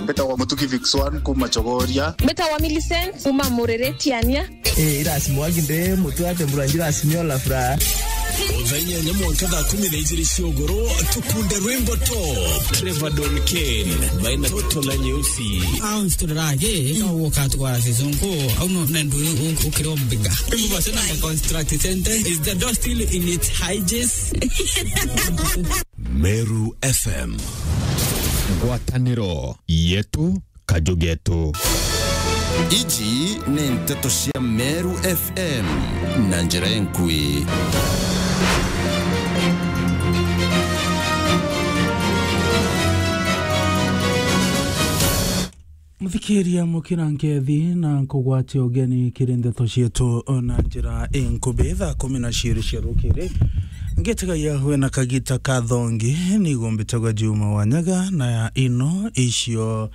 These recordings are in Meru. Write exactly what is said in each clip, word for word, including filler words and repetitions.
Mbitagwa Mutuki Vix one kuma Chogoria. Mbitagwa Millicent kuma Mureretiania. Eh, irasi mwagi nde mutu ate mburanjira asimiola fura. Thaa inyanya mwanka thaa kumi na ijiri cia ugoro, tukunde rwimbo top. Trevor Don Kane, baina Toto na Nyeusi. Au nsiturira agi, no woka twara season ko, au no nendu ukiro mbiga. Mbu base na construct center, is the door still in its hinges? Meru F M. Ngwataniro yetu, kaju getu. Iji ni nteto cia Meru F M na njira enkui. Muthikiria, mukira nkethi na nkugwatia ugeni kiri ndeto cietu na njira inkubi. Thaa kumi na ciiri cia rukiri, ngitigagia wina kagita ka thongi, nigumbitagwa Juma Wanyaga, na ino icio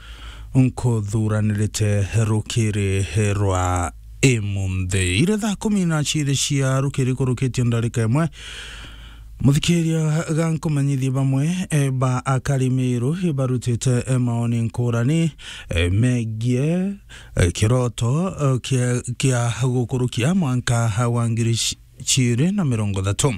nkuthuranirite rukiri rwa imunthi. Iri thaa kumi na ciiri cia rukiri kurukitie ndarika imwe. Muthikiria, ga nkumenyithie bamwe, eh, ba akari Meru ibarutite, eh, maoni nkurani, eh, megie, eh, kiroto, eh, kia, kia gukurukia mwanka wa ngiri ci-, ciiri na mirongo ithatu.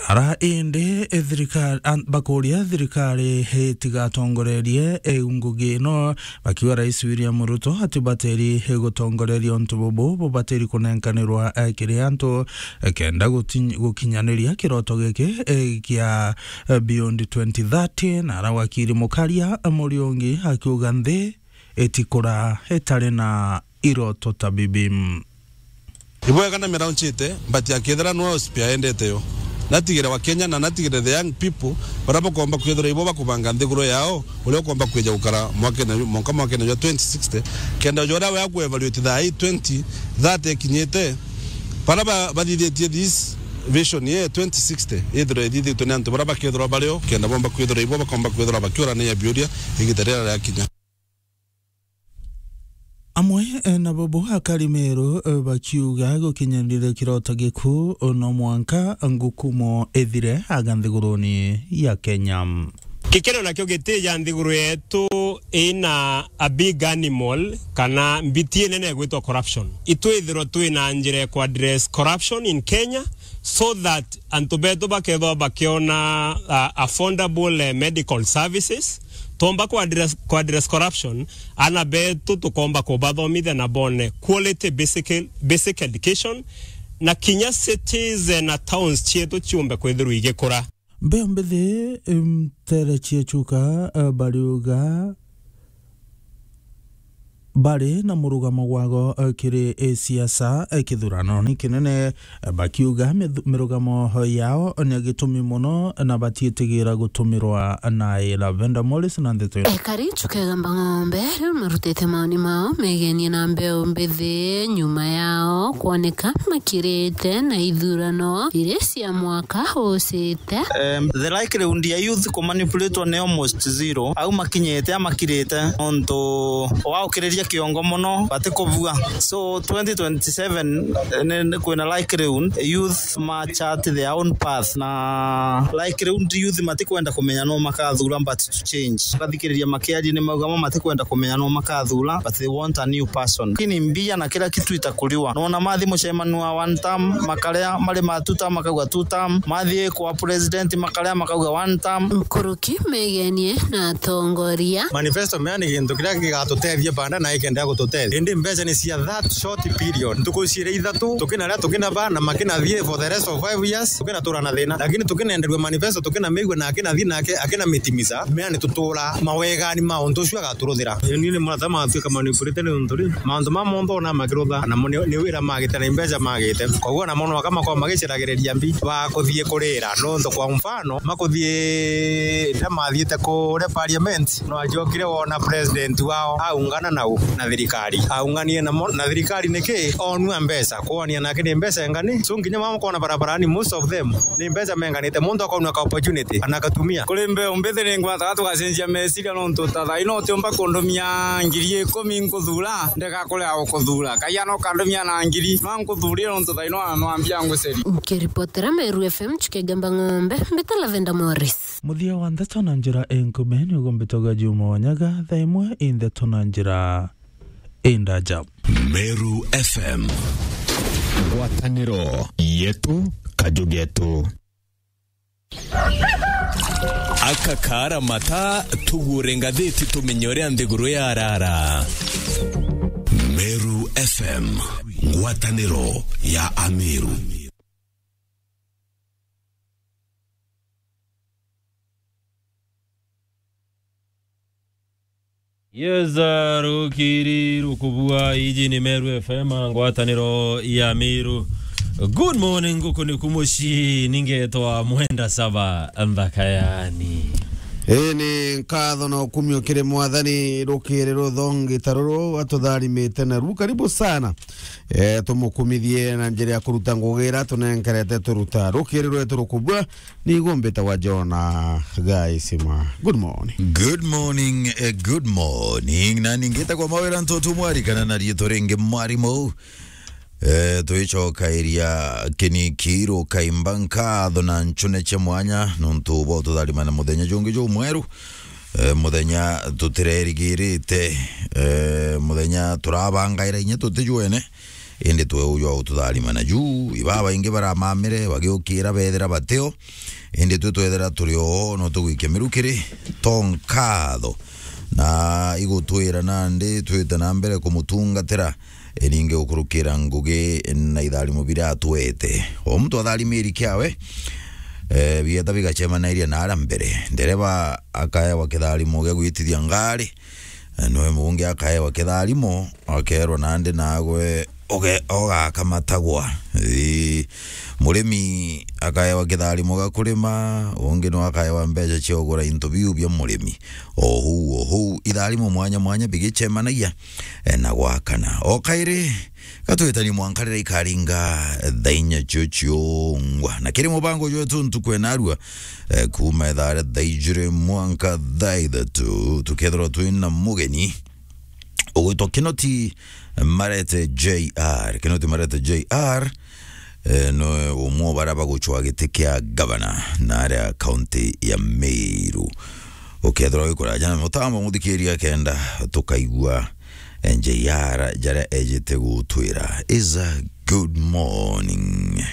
Ara indi, eh, thirikari, an-, bakuria thirikari itigatongorerie, eh, ngugi ino, bakiuga Rais William Ruto atibateri gutongoreria untu bubu, bubateri kunenkanirwa, eh, kiri antu, eh, kenda guti-, gukinyaniria kiroto giki, eh, kia, eh, Beyond twenty thirty, na ara wakiri Mukaria, eh, Muriungi akiuga nthi itikura itari na iroto ta bibi. Ibwega na miraunchite, but akethira nwe ospi aendete yo. Natigire wa Kenya na natigire the young people, bara bakomba kwithira ibo bakubanga nthiguru yao, uria ukomba kwija gukara mwakene, mwanka mwakene jwa twenty sixty, kenda uja uria we akuevaluate thaa ii twenty thirty ikinyite, bara ba-, bathithitie this vision ye twenty sixty, ithirwe ithithitwe ni antu bara bakethirwa bario, kenda bomba kwithirwa ibo bakomba kwithirwa bakiurania biuria igita riria riakinya. Amwe, eh, na bobo akari Meru, eh, bakiuga gukinyanire kiroto giku, eh, no mwanka ngukumo ithire aga nthiguruni ya Kenya. Gikeno nakio gitija nthiguru yetu ina a big animal kana mbiti inene igwitwa corruption. Itwithirwa twina njira ya ku address corruption in Kenya so that antu betu bakethwa bakiona, uh, affordable, eh, medical services. Tomba ku address, ku address corruption, ana betu tukomba kubathomithia na bone quality basic, basic education, na kinya cities, eh, na towns cietu ciumbe kwithirwa igikura. Mbeo mbithi, em, tere cia chuka, eh, bariuga bari na murugamo gwago, eh, kiri, eh, siasa, eh, kithurano ni kinene, eh, bakiuga mithu-, mirugamo yao ni gitumi mono na batiitigira gutumirwa na ira. Venda Morris na ndeto ino. Ekari Chukegamba Ng'ombe riu marutite maoni mao megenie na mbeu mbithi nyuma yao kwoneka makirite na ithurano iria cia mwaka ucite. Um, the likelihood ya youth kumanipulate ni almost zero. Au makinyite, amakirite, nontu waukiriria kiongo mono, batikubua. So, twenty twenty-seven, eh, ni, ni kwina likelihood youth ma chart their own path, na likelihood youth matikwenda kumenya no makathura, but to change. Bathikiriria makiaria ni mauga mo matikwenda kumenya no makathura, but they want a new person. Lakini mbia na kila kitu itakuriwa. Nona mathi mucemanio wa one term, makaria mari ma two term, makauga two term. Mathi kwa president, makaria makauga one term. Nkuruki megenie na atongoria. Manifesto mea ni gintu kiria gigatutethia baada na ikendea gututethia. Indi mbeca ni cia that short period. Ntuku ciiri ithatu, tukinaria, tukinaba, na makinathie for the rest of five years, tukinatura na thina. Lakini tukinenderua manifesto, tukinamigua na akinathie nake, akinamitimiza. Mea ni tutura mawegani ma untu ucio agaturuthira. Ni ni murata matuika manipulated ni untu ri, mauntu ma monthe ona makirutha, na mo ni, ni wira magite na mbeca magite. Koguo na mono akamakorwo magiciragiriria mbi ba kuthie kurira. Nontu kwa mfano, makuthie, riria mathiite kuria parliament, no ajokire wona president wao aungana nau na thirikari. Aunganire na mo-, na thirikari niki? Onua mbeca, kwonia nake ni mbeca ingani? So nginya mama kona barabarani, most of them, ni mbeca menganite. Muntu akonua ka opportunity, ana akatumia. Kuri mbeu mbithi ni ngwataga tugacenjia meciria nontu ta thaa ino utiumba kundumia ngiri ikumi nkuthura, ndega kuria gukuthura. Kaiana ukandumia na ngiri, no nkuthurie nontu thaa ino no ambia nguceria. Nkiripotera Meru F M, Chukegamba Ng'ombe, mbita Lavender Morris. Muthia wa ndeto na njira inkume ni ugumbitagwa Juma Wanyaga, thaa imwe i ndeto na njira indaja. Meru F M. Ngwataniro yetu, kaju getu. Aka kaara mata, tugure ngathiti tumenye uria nthiguru yarara. Meru F M, ngwataniro ya Ameru. Yes, uh, rukiri rukubua, iji ni Meru F M, ngwataniro ya Meru. Good morning, guku ni kumuci, ningetwa Mwenda Saba Nthakayani. Ii ni nkatho na ukumio kiri Mwathani, rukiri ruthongi ta ruru atutharimite naru. Karibu sana. Eh, tumukumithie na njira ya kuruta ngugi ira tunenkerete turuta. Rukiri rwetu rukubua, ni gumbita wa Jona Gaisima. Good morning. Good morning, eh, good morning. Na ningita kwa mawira ntoto mwari kana na rieto ringi mwarimu. Eh, twicokairia kinikiru kaimba nkatho na nchune cia mwanya nontu bwa ututharima na muthenya jungi jumweru. Eh, muthenya tutirerigirite, eh, muthenya turabangaira inya tutijwene, indi twe uju wa ututharima na juu, ibaba ingi baramamire, bagiukira bethira batio, indi twe twethira turi o, no tugwikia mirukiri, to nkatho. Na igutwira nandi twite na mbere kumutungatira, iringi gukurukira ngugi na itharimo biria atwete. O muntu atharimiri kiawe, eh, bieta bigacemanairia na aria mbere. Ndereba akaewa kitharimo gia gwitithia ngari, eh, noe mungi akaewa kitharimo, akerwa nandi nagwe uge-, ugakamatagwa. Ii, murimi akaewa kitharimo gia kurima, ungi no akaewa mbeca cia ugura into biu bia murimi. O huu, o huu, itharimo mwanya mwanya bigicemanagia, eh, na gwakana. O kairi, gatwitani mwanka riria ikaringa thaa inya cio ciongwa. Na kiri mubango jwetu ntuku enarua, eh, kuuma ithaa ria thaa ijiri mwanka thaa ithatu, tukethirwa twina mugeni ugwitwa Kinoti Marete J R. Kinoti Marete J R, eh, no umwe wa baria bagucwa giti kia gavana na aria kaunti ya Meru. Ukethirwa wi kuraja na mutambo, muthikiria, kenda tukaigua, eh, J R jaria ejite gutwira. Is a good morning.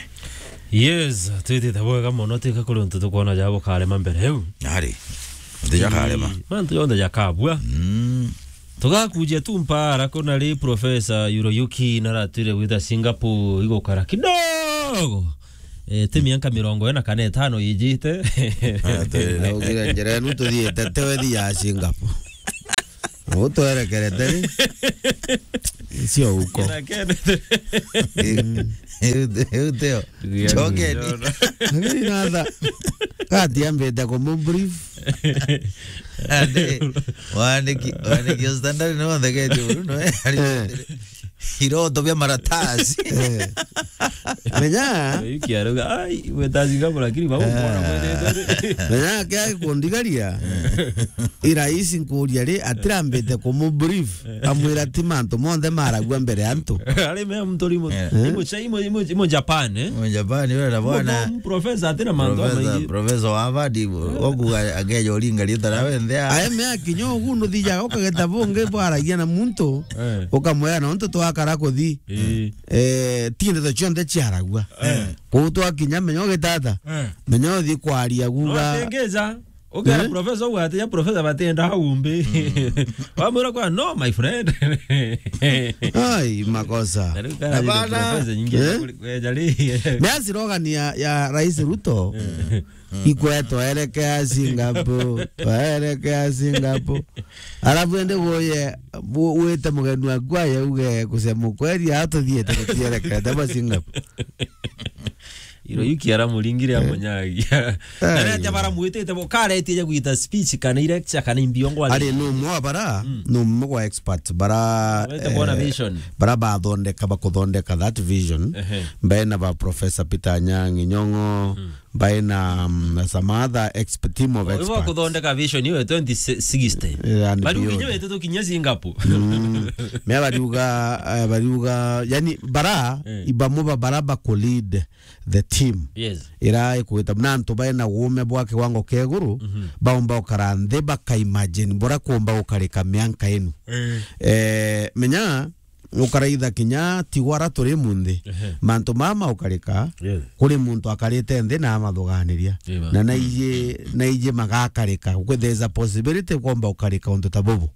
Yes, twitite bwega mono, tika kuri untu tukwona ja bukarema mbere eu. Ari, nti jakarema. Ii, mantu jonthe jakabua. Mm. Tugakujia tu mpara, kuna ri Professor Hiroyuki naratwire gwita Singapore igukara kidogo. Eh, ti mianka mirongo ina kana itano ijite. Ati, na ugira njira enu tuthiite, tewe thi ya Singapore. Utwerekerete ri? Sio huko. Ina kende. Mm. Eu, eu teo. Ndugu yangu, Chokeni. Njona. Lakini natha, kati ambite kumu brief. Ande, wandiki, wandiki o standard no wathegetie buru, no, eh, ari, eh, iroto bia maratasi. Eh. Menya. Wiki arauga, "Ai, we tazi ngapo, lakini bau, eh, mwana mwene ndo." Menya kia kundigaria. Eh. Ira isi nkuria ri, atirambite kumu brief. Amwira ti mantu monthe maragua mbere ya antu. Ari me mtu rimo, eh, imo cha, imo, imo, imo Japan, eh? Imo Japan, ura na bwana. Professor atina mantu, professor, amaingi. Professor wa Harvard, eh, okuga ageja uringa rita rawe nthea. Aye me akinya ugu nuthija ukageta bungi bwaragia na muntu, eh, ukamwira na untu twakara kuthi. Eh. Eh, ti ndeto cionthe ciaragua. Eh. Kuu twakinya menya ugitata. Eh. Menya uthi kwaria guga. No atengeja. Ukera, eh? Professor ugwate ya professor batenda haumbi. Mm. Wamwira kwa, "No, my friend." Ai, makosa. Na riu kana, hapana, professor nyingi, eh? Kuri-, kweja ri. Ni slogan ya, ya Rais Ruto. Mm. Ikwe, "Twaerekea Singapore, twaerekea Singapore." Alafu ende goye, bu-, wite mugeni waku aye uge, "Kusema ukweli, hata thiete tutierekete ba Singapore." Hiroyuki aramuringire, eh, amunyagia. Ai. Na riria baramwitite bo, karetie ja gwita speech kana i lecture kana i mbiongo. Ari no mwa bara, mm, no mwa expert bara, wete bona, eh, vision. Bara bathondeka, bakuthondeka that vision. Ehe. Mbena ba Professor Peter Anyang' Nyong'o, mm, by na, mm, some other exp-, team of experts. Ibo kuthondeka vision iyo ya twenty sixty. Eh, and beyond. Bariuga inya wetu tukinye Singapore. Mm. Mea bariuga, eh, bariuga, yani, bara, eh, ibamo ba bara ba ku lead the team. Yes. Ira ikwita na antu baina uume bwa kiwango kia iguru, mhm, baumba ukara nthi bakaimagine bura kuumba gukarika mianka inu. Eh. Eh, menya, ukaraitha kinya tigwara turi munthi. Ehe. Mantu mama ukarika, yes, kuri muntu akarite nthi na amathuganiria. Eba. Na naiji, naiji magakarika. Kwe-, there's a possibility kwomba ukarika untu ta bubu.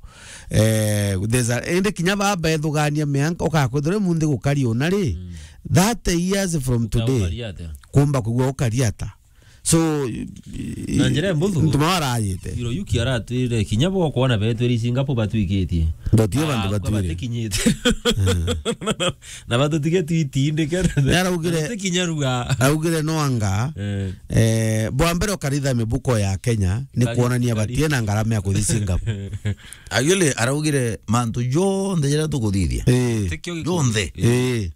Eh, there's a, indi kinya baba ethugania mianka, ukakwithirwa ri munthi gukari una ri, mm, thirty years from today, ukaria atia? Kumba kugua ukari ata? So, i-, na njira mbuthu, ntu marayite. Hiroyuki aratwire kinya bo kwona betwiri Singapore batwikitie. Ndotie bantu, ah, batwire batikinyite. Mm. Na batutige twitindike. Ni araugire, batikinya rua. Araugire no anga, eh, eh, bwa mbere ukaritha mibuko ya Kenya ni kari-, kuonania kari-, batie na ngarama ya kuthi Singapore. Agile araugire mantu jonthe jira tukuthithia. Eh. Tikio gikuthithia. Jonthe. Eh.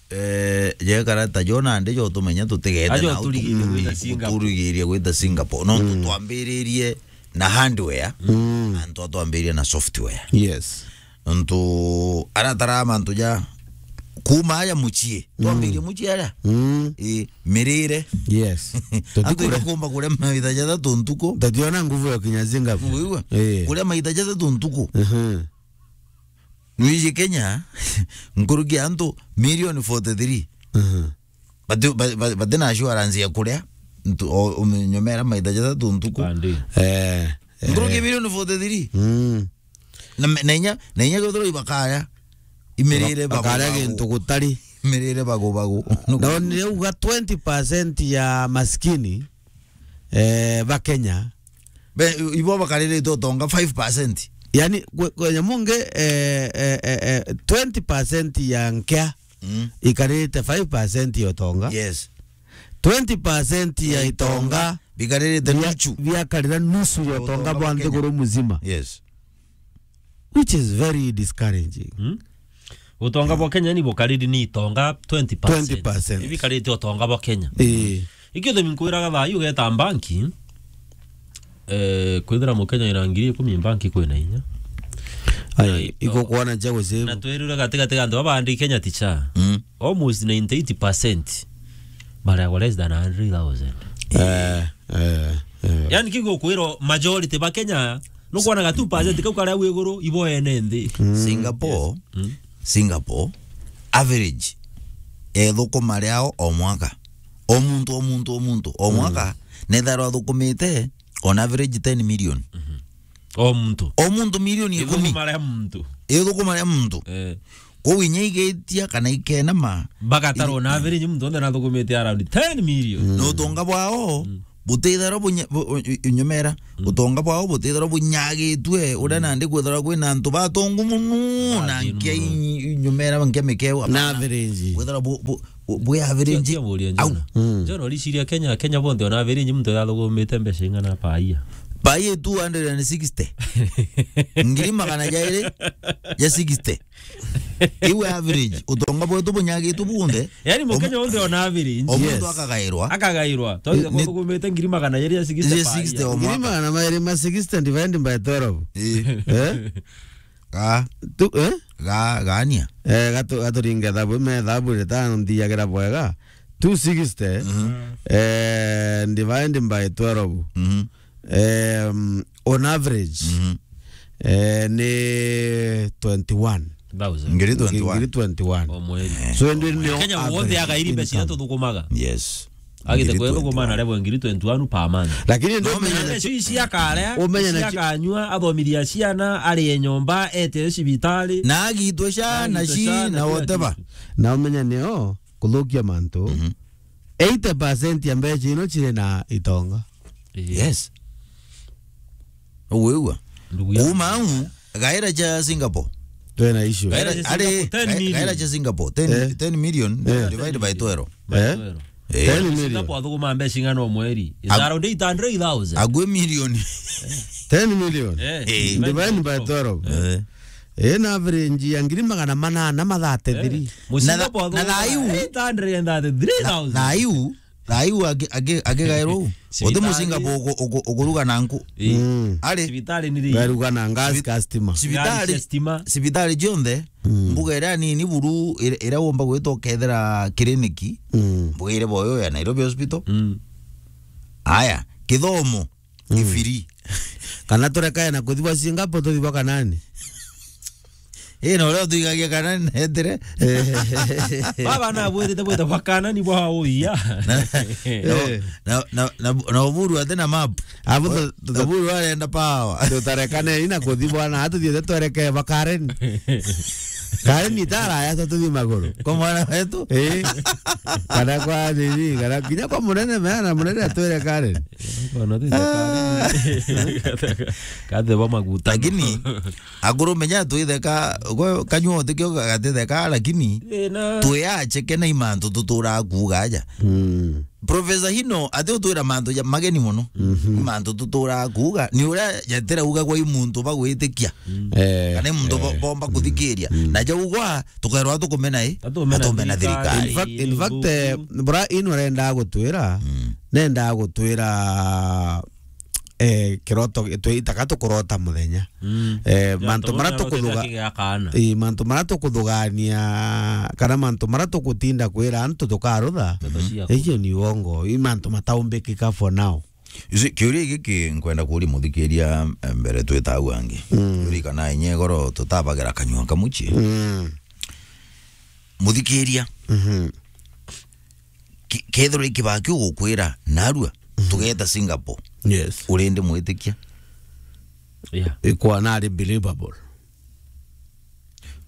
Eh, jekara ta jo nandi jo tumenya tutigete. Ajo na turigirie gwita Singapore. Turigirie gwita Singapore. No, mm, twambiririe na hardware, mm, na ntu twambiririe na software. Yes. Ntu aratara mantu ja kuma aja mucii. Mm. Twambirie mucii aja. Mm. I, mirire. Yes. Antu tutikure. Ikumba kuria maita jathatu ntuku. Tationa nguvu ya kinya Singapore. Nguvu igwe? Eh. Kuria maita jathatu ntuku. Mhm. Nwiji Kenya, nkuruki antu milioni forty-three. Mhm. Bati-, ba-, ba-, bati na assurance ya kuria, ntu-, o-, umenyomera maita jathatu ntuku. Pandi. Eh, eh. Nkuruki milioni forty-three. Mm. Na me-, na inya, na inya kethirwa ibakaya, imirire bagu-, bakaria bagu. Gintu gutari. Imirire bagu, bagu. No, ni uga twenty percent ya maskini, eh, ba Kenya. Be, ibo bakaririte utonga five percent. Yani, kwe-, kwenya mungi, eh, eh, eh, eh, twenty percent ya nkea, mm, ikaririte five percent ya utonga. Yes. Twenty percent ya, ya itonga, itonga, bikaririte bia-, nusu. Biakarira nusu ya utonga bwa nthiguru muzima. Yes. Which is very discouraging. Hmm? Utonga bwa Kenya ni bukariri ni itonga twenty percent. Twenty percent. Ibikarite utonga bwa Kenya. Ii. Ikio thimi nkwiraga thaa ii ugeta mbanki, eh, kwithira Mukenya ina ngiri ikumi mbanki kwina inya. Ai, na ito-, iko kuona cha gucibu. Na twirire gati gati ga antu baba andi Kenya ticha. Mm. Almost ninety-eight percent. Maragwa less than a hundred thousand. Eh, eh, eh. Yani, kigo kwirwo majority ba Kenya, nukwonaga two percent kau karia wi iguru, ibo ene nthi. Mm. Singapore, yes. Mm. Singapore, average, ethukuma riao o mwaka. O muntu, o muntu, o muntu, o mwaka, mm, nethagirwa athukumite on average ten million. Mhm. O muntu. O muntu milioni ikumi. Ithukuma ria muntu. Ithukuma ria muntu. Eh. Kwou inya igetia kana ikenama, bagatarwo i-, na average muntu onthe nathukumite around ten million. Mm. Na utonga bwao, mm, butitharwa bunya-, bu-, u-, u-, unyumera. Mm. Utonga bwao butitharwa bunyagitue, uria, mm, nandi kwitharwa kwina antu batongu muno, na, ah, nkia muno. I-, inyumera, nkia mikeu, na apana. Average. Kwitharwa bu-, bu-, bu-, bwi average. Tia, tia buria, au. John. Mm. John, uriciria Kenya, Kenya bonthe ona average muntu athukumite mbeca ing'ana per year? Per year two hundred and sixty. Ngiri magana jairi ja sixty. Iwe average, utonga bwetu bunyagitwe bunthe. Yani, Mukenya onthe ona average. O muntu, yes, akagairwa. Akagairwa. Twathiria ni-, kuthukumite ngiri magana jairi ja sixty ja per sixty year. O mwaka. Ngiri magana mairi ma sixty divided by twelve. Ii. Eh? Ga. Tu, eh? Ga, gania. Eh, gatu-, gaturinge thabu, me thabu ritano nthiagira bwega. Two sixty, mhm, eh, divided by twelve. Mhm. Em, on average, mhm, eh, ni twenty-one. Thousand. Ngiri twenty-one. Ngiri twenty-one. O mweri. Eh. So, indi ni Kenya average wonthe agairi mbeca income iria tuthukumaga. Yes. Agite kwethukuma na level ngiri twenty-one per month. Lakini ndo no, menya na mbeca ici akarea, umenye na akanyua, athomithia ciana, arie nyomba, ete cibitari. Na agitwe ciana, agitwe ci ciana, na kila whatever kitu. Na umenya nio kuthukia mantu. Mhm. Eighty percent ya mbeca ino ciri na itonga. Ii. Yes. Uwigua? Ndugu yangu. Kuma au, gaira cha Singapore. Twena issue. Gaira, gaira cha ari, Singapore, ten million. Gaira, gaira cha Singapore, ten, eh, ten million, eh, divide by twelve. By twelve. Eh? Eh. Ten million. Singapore athuguma mbeca ing'ana o mweri? It's around eight hundred thousand. Agwe million. Ten million. Eh, eh. Divide by twelve. Eh. Eh, na average ya ngiri magana manana ma thirty-three. Eh. Na tha-, na thaiu, eight hundred and thirty-three thousand. Na thaiu, Thaa iu aki-, aki-, akigairwo u. Uti mucinga Cibitari. Uku-, uku-, ukuruga na nku. Ii. Mm. Ari? Cibitari ni ri? Garuga na gas Cibi-, customer. Cibitari, Ngari cia stima. Cibitari cionthe, mm, mbuga iria nini buru ira, ira womba gwita ukethira kiriniki, mm, mbuga ire boyo ya Nairobi Hospital. Mm. Aya, kithomo, mm, ifiri. Kana turekae na kuthibwa Singapore, tuthibwa Kanani. Ii, na uria utwigagia Kanani neetire. Baba nabwirite bwita bwa Kanani bwa uia. Na, na, na, na, na Oburu ati na map. Abu tu-, tu-, Oburu arenda power. Tutarekane ina kuthi bwana, atuthiete twereke ba Karen. Karen itara ya tuthi maguru. Kwa mwana wetu? Eh. Kana kwa nini? Kana kinya kwa munene, meana munene atwire Karen. Bwana, tuthi Karen. Kathe ba maguta. Lakini, akuru menya twitheka, gwe kanyua utikio gatitheka, lakini, eh, na, twi acheke na imantu tuturaa kuuga aja. Mm. Professor Hino, ati utwira mantu ja mageni muno. Mhm. Mantu tuturaa kuuga, ni uria jatirauga gwa i muntu bagwitikia. Mm. Eh, kana i muntu bo-, eh, bomba kuthikiria. Mm. Na jau gwa, tukairwa tukumena i? Atumena atumena thirikari. Thirikari. In fact, in fact, eh, bra ino arenda gutwira, mm, nenda gutwira, eh, kiroto, twi-, itaka tukurota muthenya. Mm. Eh, ja, mantu maria tukuthuga-, ii, mantu maria tukuthugania, kana mantu maria tukutinda kwira antu tukarutha, ndeto ciaku, icio ni uongo. I mantu mataumbikika for now. You see, kiuria giki nkwenda kuria muthikiria, eh, mbere twita au angi. Mm. Uririkana inya igoro tutabagira kanyua kamuchi. Mm. Muthikiria. Mhm. Ki-, kethirwa i kibaki ugukwira, narua, mhm, tugeta Singapore. Yes. Urindi mwitikia? Yeah. Ikwa nari believable.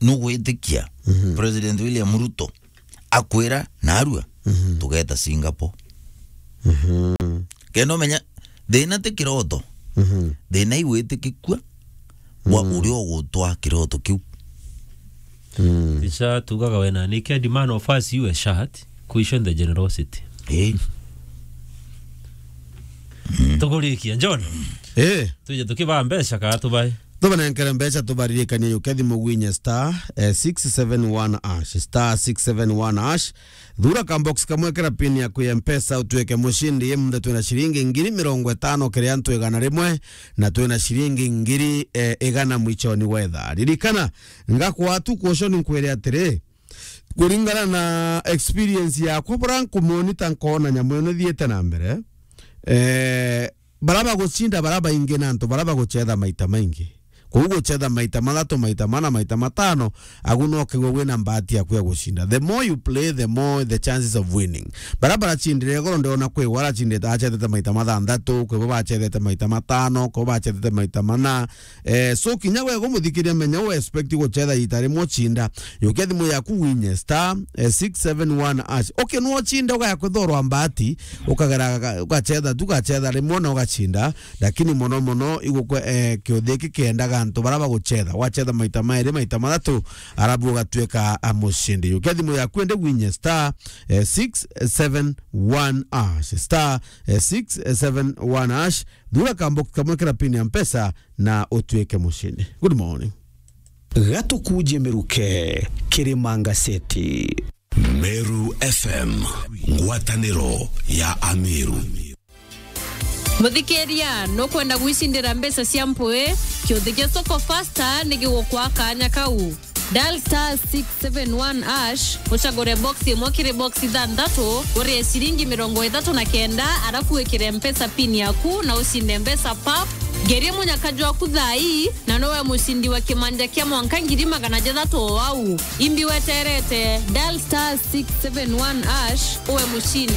Nugwitikia, mhm, President William Ruto akwira, narua, mhm, tugeta Singapore? Mhm. Kenda umenya, thina ti kiroto. Mhm. Thina i witikikua wa, mm, uria ugutwa kiroto kiu. Mm. Ticha tugaga wena, niki a demand of us you a shirt, question the generosity. Eh. Mm. Tukurikia, John. Eh. Tuje tukibaa mbeca kaa tubae? Tubanenkere mbeca, tubaririkanie yuke thimu gwinye star, eh, six seven one hash, star six seven one hash. Thura ka box kamwe kira pin yaku ya Mpesa, utuike mucindi. Imunthe twina ciringi ngiri mirongo itano kiri antu igana rimwe, na twina ciringi ngiri, eh, igana mwichoni wa ithaa. Ririkana, ngakwa tu kuoshoni nkwire atiri, kuringana na experience yakwa, bura nkumonita nkona nyamu ino ithiite na mbere, eh, bara bagucinda bara baingi na antu bara bagucetha maita maingi. Kwou gucetha maita mathatu, maita mana, maita matano, agu no kegwe wina mbahati yaku ya gucinda. The more you play, the more the chances of winning. Bara baracindire igoro, ndiona kwi we aracindite, acethete maita mathanthatu, kwi bo bacethete maita matano, kwi bo bacethete maita mana. Eh, so kinya we gumuthikiria, menya u expect gucetha ita rimwe ucinda. Yukia thimu yaku winye star, eh, six seven one hash. Okay, no ucinde ugaya kwithorwa mbahati, ukagera, ugacetha tu, ugacetha rimwe na ugacinda. Lakini mono mono igukwe, eh, kiuthi giki kiendaga antu bara bagucetha. Wacetha maita mairi, maita mathatu, arabu ugatuika a mucindi. Yukia thimu yaku ende winye star, eh, six seven one hash. Star, eh, six seven one hash. Thura ka box kamwe kira pin ya Mpesa na utuike mucindi. Good morning. Gatukuje miruke, Kirima Ngaseti. Meru F M, ngwataniro ya Ameru. Muthikiria, nukwenda gwicindira mbeca cia mpui? Kiuthi kia Soko Fasta ni gigukwa kanya kau. Dial star six seven one hash, ucagure box imwe kiri box ithanthatu, urie ciringi mirongo ithatu na kenda, arafu wikire Mpesa pin yaku na ucinde mbeca pap. Ngerie munyaka jwaku thaa ii, na nowe mucindi wa kimanja kia mwanka ngiri magana jathatu o au. Imbi weterete, dial star six seven one hash, uwe mucindi.